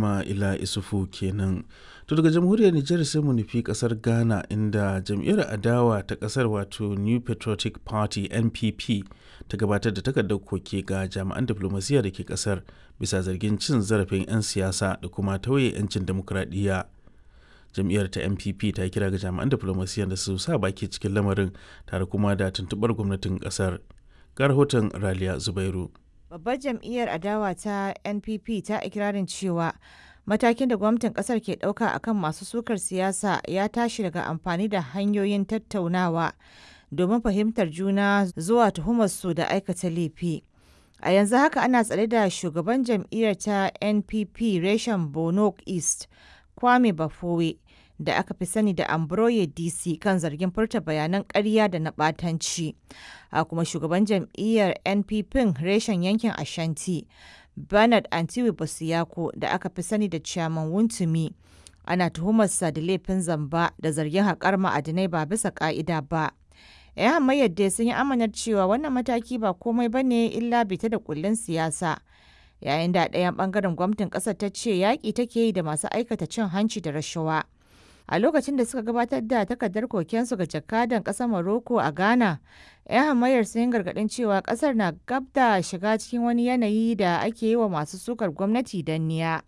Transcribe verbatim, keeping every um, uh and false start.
Cima Ila Isufu kenan. To daga jamhuriyar Nijar sai mu nufi kasar Ghana, inda jam'iyyar adawa ta kasar wato New Patriotic Party N P P ta gabatar da takardar koke ga jami'an diflomasiyya da ke kasar bisa zargin cin zarafin 'yan siyasa da kuma tauye 'yancin dimokuraɗiyya. Jam'iyyar ta N P P ta kira ga jami'an diflomasiyya da su sa baki cikin lamarin tare kuma da tuntuɓar gwamnatin kasar. Ga rahoton Raliya Zubairu. Babbar jam'iyyar adawa ta N P P ta ikirarin cewa matakin da gwamnatin kasar ke ɗauka akan masu sukar siyasa ya tashi daga amfani da hanyoyin tattaunawa domin fahimtar juna zuwa tuhumarsu da aikata laifi. A yanzu haka ana tsare da shugaban jam'iyyar ta N P P reshen Bono East, Kwame Bafowe, da aka fi sani da Ambroye D C, kan zargin furta bayanan ƙarya da na ɓatanci. A kuma shugaban jam'iyyar N P P reshen yankin Ashanti, Bernard Antiwi Bosiyako, da aka fi sani da Chairman Wuntumi, ana tuhumarsa da laifin zamba da zargin haƙar ma'adinai ba bisa ƙa'ida ba. 'Yan hamayyar dai sun yi amanar cewa wannan mataki ba komai ba ne illa bita da kullun siyasa, yayin da ɗayan ɓangaren gwamnatin ƙasar ta ce yaƙi take yi da masu aikata cin hanci da rashawa. A lokacin da suka gabatar da takardar kokensu ga jakadan ƙasar Morocco a Ghana, 'yan hamayyar sun yi gargaɗin cewa ƙasar na gab da shiga cikin wani yanayi da ake yi wa masu sukar gwamnati danniya.